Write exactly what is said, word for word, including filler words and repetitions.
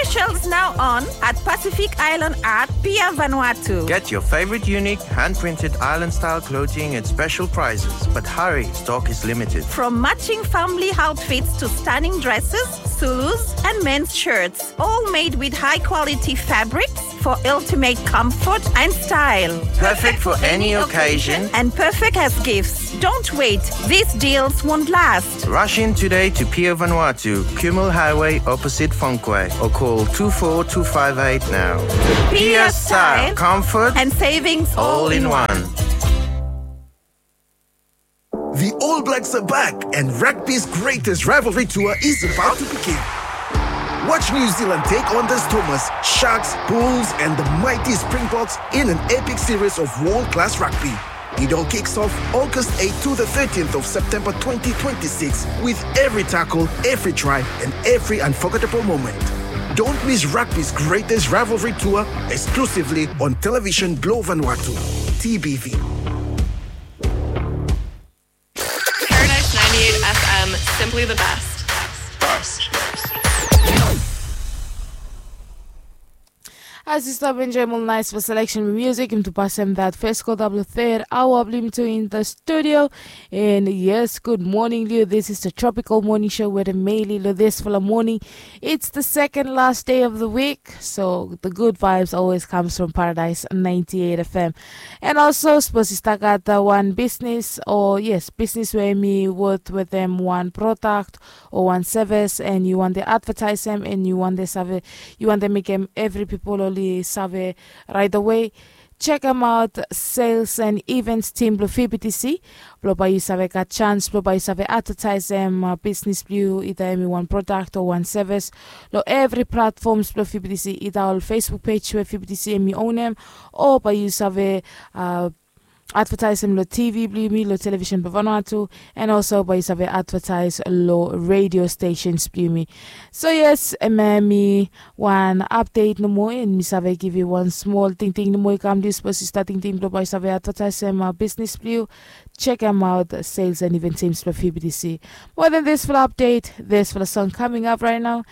Specials now on at Pacific Island Art, Pier Vanuatu. Get your favorite unique hand-printed island-style clothing at special prices, but hurry, stock is limited. From matching family outfits to stunning dresses, Zulus, and men's shirts, all made with high-quality fabrics for ultimate comfort and style. Perfect for any occasion and perfect as gifts. Don't wait, these deals won't last. Rush in today to Pier Vanuatu, Kumul Highway, opposite Fonquay, or call two four two five eight now. Pier style, comfort, and savings all in one. The All Blacks are back, and rugby's greatest rivalry tour is about to begin. Watch New Zealand take on the Stormers, Sharks, Bulls, and the mighty Springboks in an epic series of world-class rugby. It all kicks off August eighth to the thirteenth of September twenty twenty-six, with every tackle, every try, and every unforgettable moment. Don't miss rugby's greatest rivalry tour, exclusively on Television Blue Vanuatu, T B V. Paradise ninety-eight F M, simply the best. As yu stap enjoem ol naes blong seleksen blong musik, yumi tu pasem dat fes kota blong third hour blong yumi tu in the studio. And yes, good morning long yu. This is the Tropical Morning Show with Emily long disfala morning. It's the second last day of the week, so the good vibes always comes from Paradise ninety-eight F M. And also, sapos yu stap gat wan bisnis, o yes, bisnis we hemi wot wetem wan prodak o wan sevis, and yu wantem advetaesem, and yu wantem save, yu wantem mekem evri pipol oli save right away, jekemaot sales and events team blong V B T C blong bae yu save gat jans blong bae yu save advetaesem bisnis blong yu, ida hemi wan prodak o wan sevis, long evri platfoms blong V B T C, ida ol Facebook pej we V B T C hemi onem, o bae yu save advetaesem long T V blong yumi, long Television blong Vanuatu, and also bae yu save advetaes long radio stations blong yumi. So yes, hemia hemi wan apdet nomo, and mi save givim wan smol tingting nomo i kam long yu, sapos yu stap tingting blong bae yu save advetaesem bisnis blong yu, jekemaot sales and event teams blong V B T C. Mo den disfala apdet, disfala song coming up right now.